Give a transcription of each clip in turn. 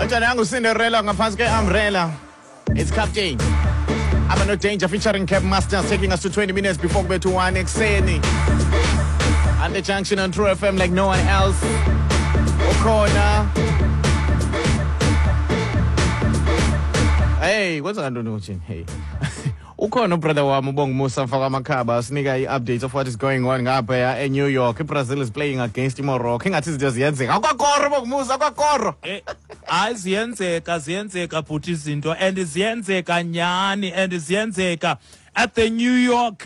Anjanangu Cinderella ngaphansi ke-umbrella. It's Captain. I'm no danger featuring Cap Masters taking us to 20 minutes before we to 1 ekuseni. And the junction on True FM like no one else. Ukhona. Hey, kwenza kantoni uthini? Hey. Ukhona ubrother wami uBonga Musa mfaka amakhaba asinika i-updates of what is going on ngaphaya eNew York. IBrazil is playing against iMorocco. Ingathi izinto ziyenzeka. Akwakoro Bonga Musa, akwakoro. Eh, hayi ziyenzeka ziyenzeka bhuti izinto and ziyenzeka nyhani and ziyenzeka at the New York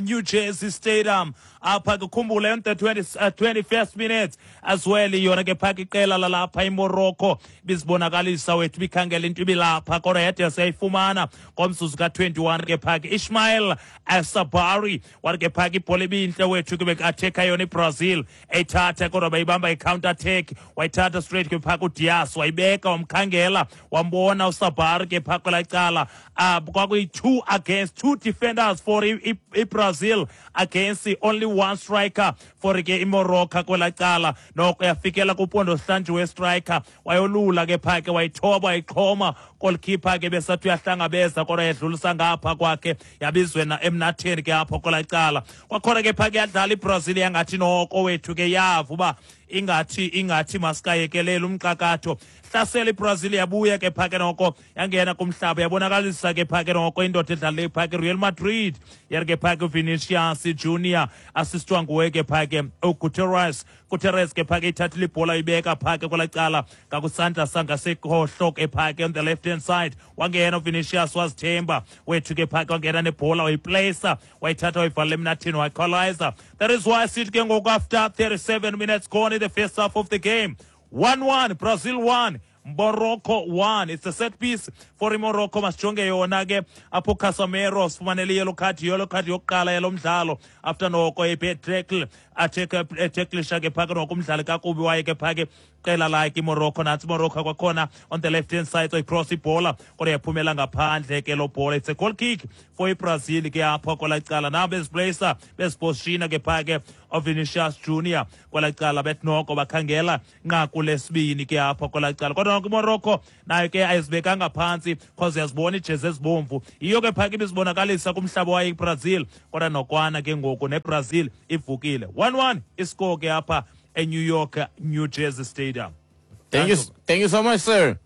New Jersey Stadium apha ke khumbule on the 20, 21st minutes as well yona ke phaka iqela lalapha iMorocco bizibonakalisa wethu bikhangela into ibilapha kodwa yade siyayifumana ngomzuzu ka-21 ke phaka Ishmael Asabari wathi ke phaka ibhola ibintle wethu ke bekathekha yona iBrazil eyithatha kodwa bayibamba i-counter attack wayithatha straight ke phaka uDiaz wayibeka wamkhangela wambona uSabari ke phaka kwelaa cala. Kwakuyi-2 against 2 defenders for iBrazil against only one striker for ke iMorocco kwelaa cala. Noko yafikela kupondo sihlanjiwe we-striker wayolula ke phaa ke wayithoba wayixhoma goalkeeper ke besathi uyahlangabeza kodwa yadlulisa ngapha kwakhe yabizwe na emnatheni ke apho kwelaa cala. Kwakhona ke phaa ke yadlala iBrazil yangathi noko wethu ke yava uba ingathi masikayekelele umxakatho. Hlasela iBrazil yabuya ke phaa ke noko yangena kumhlaba yabonakalisa ke phaa ke noko indoda edlala phaa ke Real Madrid yari ke phaa ke Vinicius Junior assistwa nguye ke phaa ke uGutierrez. Gutierrez ke phaa ke ithathile ibhola ibeka phaa ke kwelaa cala ngakusandla sangasekhohlo ke phaa ke on the left hand side wangena uVinicius wazithemba wethu ke phaa ke wangena nebhola wayiplacea wayithatha wayivalela emnathini waequalizer. That is why sithi ke ngoku after 37 minutes gone in the first half of the game 1-1 Brazil 1 Morocco 1. It's a set piece for iMorocco. Masijonge yona ke apho Casemiro sifumanele yellow card, yellow card yokuqala yalo mdlalo after noko a-bad tackle etacklisha ke phaka noko umdlali kakubi waye ke phake qela lakhe iMorocco. Nantsi iMorocco kwakhona on the left hand side cross ibhola kodwa yaphumela ngaphandle ke lo bhola. It's a goal kick for iBrazil ke apho kwelaa cala. Now beziplacea bezipositiona ke phake uVinicius Junior kwelaa cala bethi noko bakhangela nqaku lesibini ke apho kwelaa cala. Kodwa noko iMorocco nayo ke ayizibekanga phantsi cause uyazibona iijezi ezibomvu yiyo ke phake ibizibonakalisa kumhlaba wayo iBrazil. Kodwa nokwana ke ngoku neBrazil ivukile. 1-1 iscore ke apha eNew York New Jersey Stadium. Thank you so much, sir.